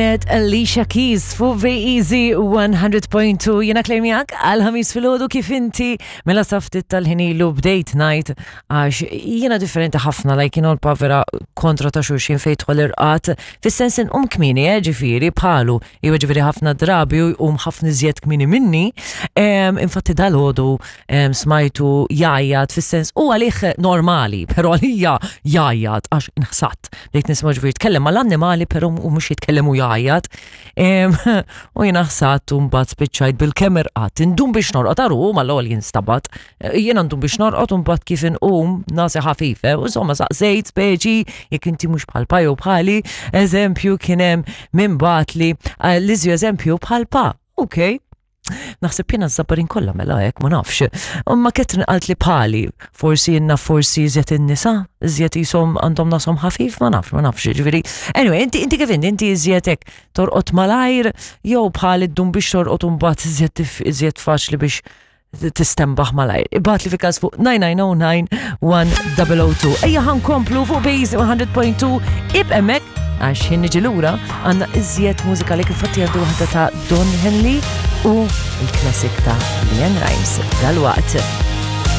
Kienet Alicia Keys fuq Easy 100.2 jena Claire miegħek għal ħamis filgħodu kif inti mela saftit tal-ħinilu bdejt ngħid għax jiena differenti ħafna like you know vera kontra ta' xulxin fejn tħol irqat fis-sens inqum kmieni eh, ġifieri bħalu jew ġifieri ħafna drabi u jqum ħafna iżjed kmieni minni. Infatti dal-għodu smajtu jgħajjat fis-sens u għalih normali, però għalija jgħajjat għax inħsat. Bdejt nisma' ġifieri tkellem mal-annimali però u mhux jitkellem u jgħajjat. U jiena ħsat u mbagħad spiċċajt bil-kemm irqadt. Indum biex norqod għaru mal-ewwel jinstabat. Jiena ndum biex norqod u mbagħad kif inqum nasi ħafife. U insomma saqsejt speċi jekk inti mhux bħal pa jew bħali, eżempju kien hemm min bagħatli eh, l-iżju eżempju bħal pa. Ok, Naħseb jiena z-zabbarin kollha mela hekk ma nafx. Imma Catherine qalt li bħali, forsi jenna forsi iżjed in-nisa, iżjed jisom għandhom nasom ħafif, ma nafx, ma nafx, ġifieri. Anyway, inti inti kif inti, inti iżjed hekk torqod malajr jew bħali ddum biex torqod u mbagħad iżjed iżjed faċli biex tistembaħ malajr. Ibgħat li fi każ fuq 9909 1002. Ejja ħankomplu fuq Base 100.2 ib hemmhekk għax ħin niġi lura għandna iżjed mużika li kif fatti għaddu waħda ta' Don Henley u il-classic ta' Leanne Rimes dal-waqt.